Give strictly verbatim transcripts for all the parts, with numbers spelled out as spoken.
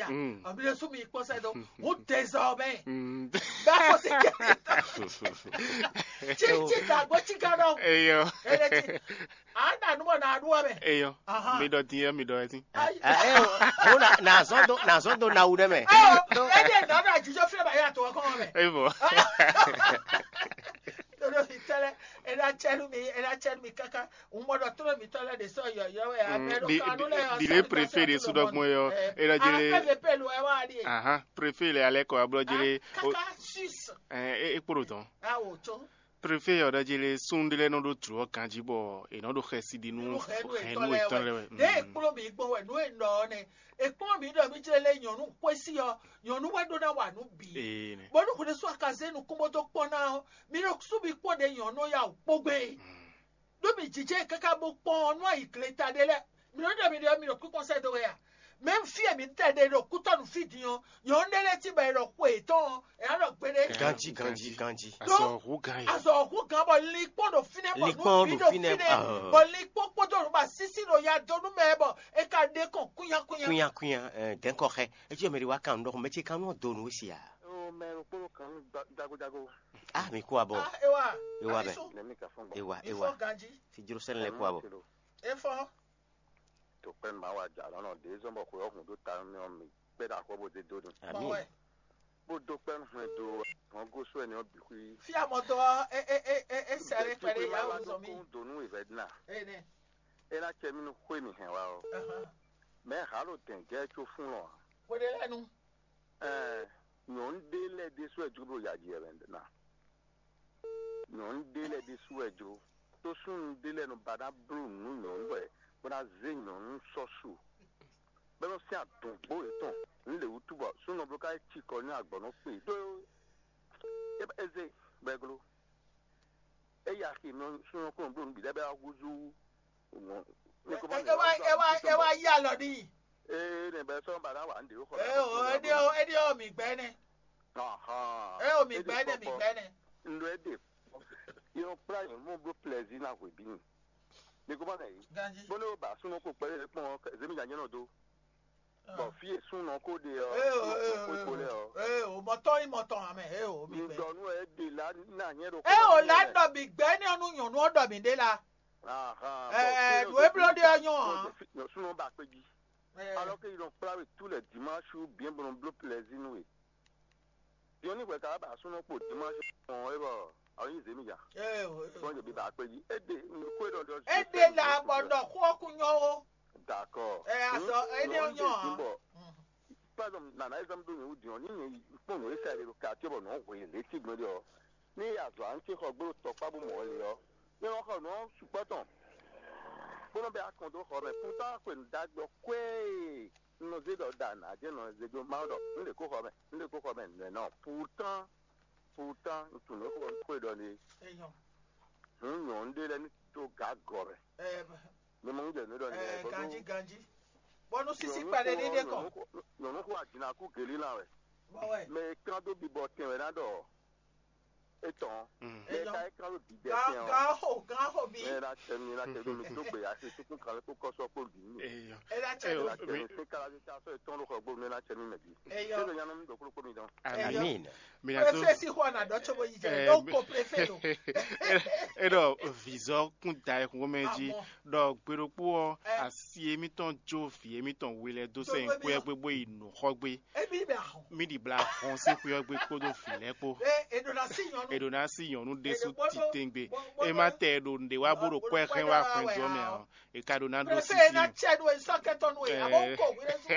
Mm. Ɔbí ɖé sú mi kpɔ́n sɛ́ dó. Wú désormais. Mm. Bá kó sí kɛ. Tí tí dàgbò tí ká dɔ. Eyo. Ele tí. A na nu bɔ na ɖu wɛ mɛ. Eyo. Aha. Mi dɔ din mi dɔ ɛtin. Ayi. Ah, eh, oh, oh, na, na zɔn do, na zɔn do na wu ɖe mɛ. Oh, ele nɔ na jujɔ fi ba ya to kɔn mɛ. Evo. Todo fi tɛlɛ, ela chɛlu mi, ela chɛlu mi kaka. Un mɔ dɔ todo mi tɔlɛ de sɔ yɔ yɔ wɛ. Mm, Amɛ do di- kanu di- lɛ yɔ. Dile préfet de sudɔgbɔn yɔ. Ela jele. Pɛfɛ pelu ɛ wa di. Aha, préfet le alɛ kɔ ablɔ jele. Kaka sus. Eh, e kporo tɔn. Awo tso. Préfet ɔ́ ɖɔ jí lé súnnu ɖé lɛ́ɛ nɔ ɖó jlǒ ɔ́ ganjí bɔ è nɔ ɖo xɛsi ɖi nú hɛ̌nnu yětɔn lɛ́ɛ wɛ. Ɖěe è kplɔ́n mǐ gbɔn wɛ nǔ e un ɖɔ ɔ́ nɛ́. È kplɔ́n mǐ ɖɔ mí jlɛ́ lé nyɔ̌nu xwésí ɔ́, nyɔ̌nu wɛ ɖó ná wa nǔ bǐ. Ee nɛ. Bónú hwenu sú a ka zé nukún bó dó kpɔ́n ná ɔ́, mi nɔ sú mi kpɔ́n ɖě nyɔ̌nu ɔ́ ya wǔ kpó gbé. Ɖó mi jǐjɛ káká bó kpɔ́n ɔ́ nú ayǐgleta ɖé lɛ́ɛ. Mi nɔ ɖɔ mi ɖɔ mi ɖo kúkɔn sɛ́ dó wɛ a? Mɛ̌ fí e mǐ tɛ ɖe ɖo kútɔ́nù fí din ɔ́, nyɔ̌nu ɖé lɛ́ɛ cí bɔ è ɖɔ xwe yětɔn ɔ́, è nǎ ɖɔ gbeɖé. Ganjí, ganjí, ganjí. Azɔ hu gan yi. Azɔ hu gan bɔ linkpɔ́n ɖo fínɛ́ bɔ nǔ bǐ ɖo fínɛ́, bɔ linkpɔ́n kpódó nǔ ba sísí ɖo ya dó nú mɛ bɔ è ka ɖe kɔn kúnyakwínya. Kúnyakwínya, dɛ̌nkɔ xɛ. Ecíɔ mɛ ɖé wá kan nǔ ɖɔxɔ mɛ ce kan nɔ do nǔ we si a? Ó mɛ ɖokpó kan jagojago. Ah, mi kú abɔ. Ah, ewa. Ewa bɛ. Nɛmi ka fɔn gbɔ. Ewa, ewa. Ifɔ ganjí. Si jro sɛnɛ lɛ kú abɔ. Efɔ. To kpɛn ma wa ja lɔnà ɖe zɔn bɔ xwe ɔhun ɖo ta mi ɔ mi kpɛ ɖe axɔ bo de do ni. Ami. Bó dó kpɛn hwɛn do hɔn gosu ɛni ɔ bi xwi. Fia mɔ dɔ e e e e e sɛrɛ kpɛɖe ya wuzɔn mi. Donu evɛ dina. Ene. Ena cɛ mi nu xwe mi hɛn wa ɔ. Mɛ halo dɛn gɛ tso fún lɔ. Xwe ɖe lɛ nu. Ɛɛ nyɔnu ɖe lɛ ɖe sɔ ɛ dzobo ya ji ɛvɛ na. Nyɔnu ɖé lɛ́ɛ ɖésú wɛ jó, tó súnnu ɖé lɛ́ɛ nɔ ba ná bló nǔ nyɔ̌nu wɛ bó ná zé nyɔ̌nu sɔ́ su. Bɔ é nɔ sín adɔ̌ngbó yětɔn nǔ lě wútu bɔ súnnu ɔ́ bló ká yi cikɔ nú agbɔ̌ nɔ kpe ɖó é zé bɔ é gló. É yi axi nɔ súnnu ɔ́ kplɔ́n bló nǔ bǐ lɛ́ɛ bɔ é wá húzú ŋɔ̌. Ɛ wá ɛ wá ɛ wá yí alɔ n'i. Ee nɛ bɛ sɔ́ ba ná wà ń ɖě xɔ. Ɛ o, é ɖé ɔ é ɖé ɔ mǐ gbɛ́ nɛ́. Ahán. Ɛ o mǐ gbɛ́ nɛ́ mǐ gbɛ́ nɛ́. Ndo é ɖe. Yɔ kplá yɛn mɔ bló plɛzi ná hwebí mi. Mi ko ma nɛ yi. Ganji. Bó ne o ba súnú ko kpɛlɛ kpɔn zemi nya nyɛ nɔ do. Bɔ fí e súnú ko ɖe ɔ. Ee o ee o ee o. Ee o mɔtɔn yi mɔtɔn amɛ ee o mi gbɛ. Ŋdɔ nú ɛ ɖe la ná nyɛ ɖo. Ee o la ɖɔ mi gbɛ ní ɔnu nyɔnu ɔ ɖɔ mi ɖe la. Ahán. Ɛɛ nú e bló ɖe ɔ nyɔ hàn. Súnú ba kpe jí. Alɔ ke yi nɔ kplá we tú lɛ dimanche ou bien bɔ nɔ bló plaisir nú we. Diɔni hwɛ ka ba súnú kpo dimanche ɔn e bɔ awo nyi zemi ja. Ee o ee o. Sɔn jɛ bi ba kpe jí. E de nu ko e dɔ dɔ. E de la bɔ dɔ xɔ kun nyɔ o. D'accord. Ɛ azɔ e de nyɔ hàn. Par exemple nana exemple ɖo nyɛ wú diɔn ni nyɛ kpɔn nɔ e sa ɖe ɖo quartier bɔ nɔ hwe lě ti gbɔn ɖe ɔ. Ní azɔ à ń tse xɔ gbó tɔkpá bó mɔ le ɔ, ní wọn xɔ nǔ ɔ́ sukpɔ́ tɔn, bó nɔ bɛ akɔn dó xɔ mɛ. Pourtant xwe nǔ ɖagbe ɔ́ kwɛ́ɛ un nɔ zé ɖɔ ɖa nǎ jɛ nɔ zé dó Mawu ɖɔ un ɖe kó xɔ mɛ, un ɖe kó xɔ mɛ nɛ̌ nɔ. Pourtant pourtant un tunwun nǔ e xwe ɖɔ ne. Hǔn nyɔ̌nu ɖé lɛ́ɛ ní dó gǎ gɔ̌ mɛ. Mi mɔ un jɛ nǔ ɖɔ ne. Ganjí ganjí. Bɔnu sisi kpɛɖe ɖe ɖe kɔ. Nyɔ̌nu xo adinakú gelí lan wɛ. Bɔ wɛ. Mɛ e kán dó bibɔ tɛn wɛ ná ɖɔ etɔn. Mɛ e ka e kán dó bibɔ tɛn ɔ. Gan ho gan ho bi. Mɛ e na tɛ mi na tɛ mi dó gbe asi tukun kan kó kɔsɔ kpó bi mi. Eyɔ. E na tɛ mi. E na tɛ mi se kala mi ta sɔ etɔn ɖo xɔ gbó mi na tɛ mi mɛ bi. Eyɔ. E bɛ nyanu mi ɖo kúrò kpó mi dɔn. Amin. Mina tó. Efesi xɔ na dɔ tso bo yi jɛ. Ɖo ko prefe ɖo. E ɖɔ vizɔ kún da ekun mɛ jí. Ɖɔ gbeɖokpó ɔ asi emitɔn jó vi emitɔn we lɛ dó sɛ nkwɛ gbogbo yi nǔ xɔ gbé. Emi bɛ ahɔn. Mi ɖi bla hɔn sí xwé ɔ́ gbé kpódó vǐ lɛ́ɛ kpó. E e ɖo na sí nyɔnu. E ɖo na sí nyɔnu ɖésú titengbe. E ma tɛ e ɖo nɖe wá bó ɖo kɔ́ ɛ xɛn wá xwɛn jɔ mɛ ɔ. E ka ɖo na ɖó sisi. Prefe e na tsɛ nu e sɔ kɛtɔ nu e abo ko wí ɖe su.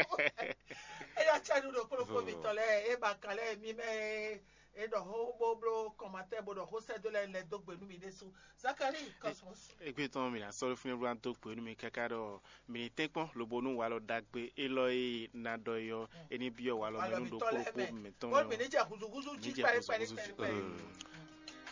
E na tsɛ nu ɖo kplɔkpɔ mi tɔ lɛ e ba kan lɛ mi mɛ. E ɖɔ xó bó bló kɔmatɛ bó ɖɔ xó sɛ́ dó lɛ lɛ dó gbe nú mi ɖésú. Zakari Cosmos. Egbe tɔn mi na sɔ́ ɖó fínɛ́ bó ná dó gbe nú mi káká ɖɔ mi ní tɛ́nkpɔ́n lobo nú walɔ ɖagbe élɔ́ e ná ɖɔ é ɔ́, é ní byɔ́ walɔ mɛ nú ɖokpó ɖokpó mɛtɔn. Bó mi ní jɛ húzúhúzú jí pɛ́lí pɛ́lí pɛ́lí pɛ́lí.